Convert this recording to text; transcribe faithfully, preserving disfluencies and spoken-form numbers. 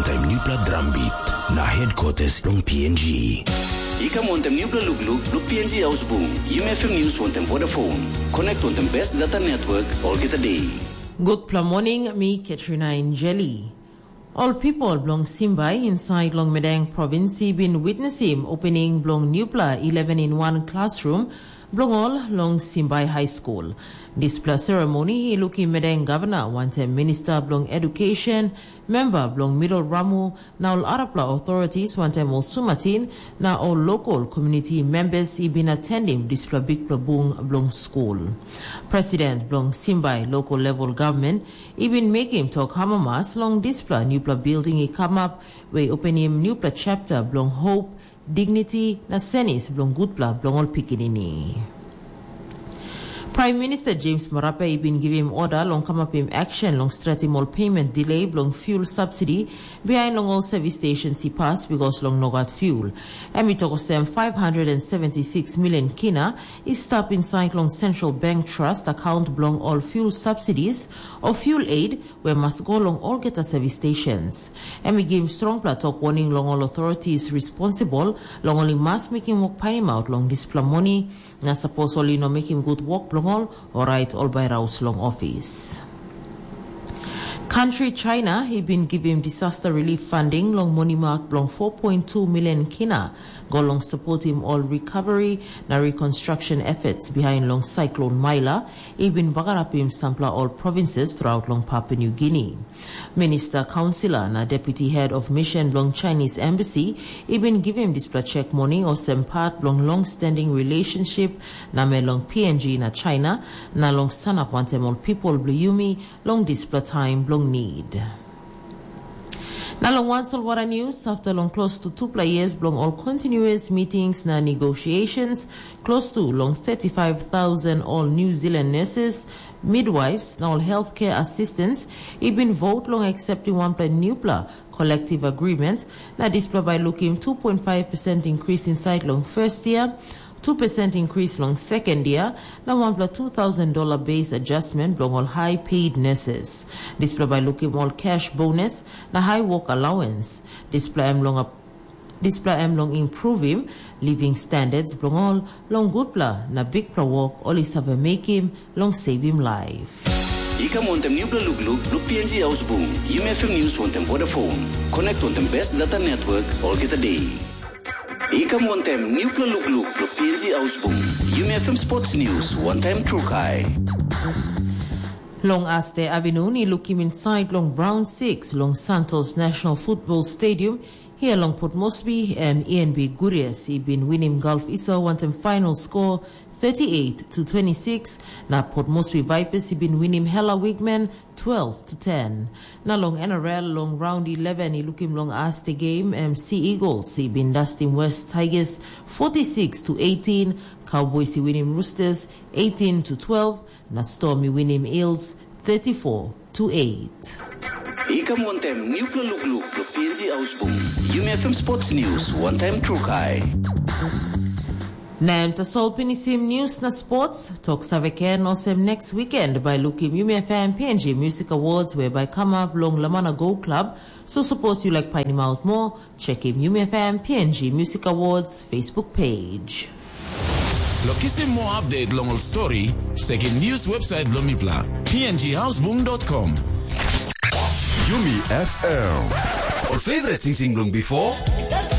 Taim nupla drum beat na headquarters long P N G. I kam wantaim nupla lukluk long P N G Ausbung, Yumi F M News wantaim Vodafone. Connect wantaim best data network olgeta day. Gutpela morning, mi Katrina Injeli. Ol people bilong Simbai inside long Medang province bin witnessim opening bilong nupela eleven in one classroom bilong ol long Simbai High School. Dispela ceremony i lukim Medang Governor wantaim Minister bilong Education, member bilong Middle Ramu, na ol arapela authorities wantaim ol sumatin na ol local community members i bin atendim dispela bikpela bung bilong skul. President bilong Simbai local level government i bin mekim tok amamas long dispela nupela building i kamap, we i openim nupela chapter bilong hope, dignity na senis bilong gutpela bilong ol pikinini. Prime Minister James Marape i bin givim oda long kamapim action long stretim ol payment delay bilong fuel subsidy behind long ol service stations i pas because long nogat fuel. Em i tok olsem five hundred and seventy-six million kina i stap inside long Central Bank Trust account bilong ol fuel subsidies o fuel aid we mas go long olgeta service stations. Em i givim strongpela tok warning long ol authorities responsible long ol i mas mekim wok painimaut long dispela moni, na sapos ol i no mekim gut wok bilong ol, orait ol bai raus long ofis. Country China i bin givim disaster relief funding long monimak bilong four point two million kina go long supportim ol recovery na reconstruction efforts behind long Cyclone Maila i bin bagarapim sampela ol provinces throughout long Papua New Guinea. Minister, councillor na deputy head of mission bilong Chinese embassy i bin givim dispela chek moni olsem part bilong long-standing relationship na me long P N G na China, na long sanap wantaim ol people bilong yumi long dispela taim bilong need. Na long wan solwara news, after long close to tupela years bilong ol continuous meetings na negotiations, close to long thirty-five thousand ol New Zealand nurses, midwives na ol healthcare assistants i bin vote long accepting wanpela newpela collective agreement, na dispela bai lukim two point five percent increase inside long first year, two percent increase long second year, na wanpela two thousand dollar base adjustment bilong ol high paid nurses. Dispela bai lukim ol cash bonus na high work allowance. Dispela em long ap- dispela em long improvim living standards bilong ol long gutpela na bikpela wok ol i save mekim long savim laip. I kam wantaim nupela lukluk long P N G Ausbung, Yumi F M News wantaim Vodafone. Connect wantaim best data network olgeta day. I kam wantaim nupela lukluk long P N G Ausbung, Yumi F M Sports News wantaim Trukai. Long Aste Avenue i lukim inside long round six long Santos National Football Stadium, here long Port Moresby, em E N B Gurias i bin winim Gulf Iso wantaim final score thirty-eight to twenty-six, na Port Moresby Vipers i bin winim Hela Wigman twelve to ten. Na long N R L long round eleven i lukim long Aste game, em Sea Eagles i bin dustim West Tigers forty-six to eighteen, Cowboys i winim Roosters eighteen to twelve, na Storm i winim Eels thirty-four to eight. I kam wantaim nupela lukluk long P N G Ausbung, Yumi F M Sports News wantaim Trukai. Na em tasol pinisim news na sports, tok save ken olsem next weekend bai lukim Yumi F M P N G Music Awards we bai kamap long Lamana Go Club. So suppose you like painim out more, check him Yumi F M P N G Music Awards Facebook page. Lo kisim more update long ol story, sekim news website bilong mipela, P N G Houseboom dot com. Yumi F M. Ol favorite sing sing bilong before.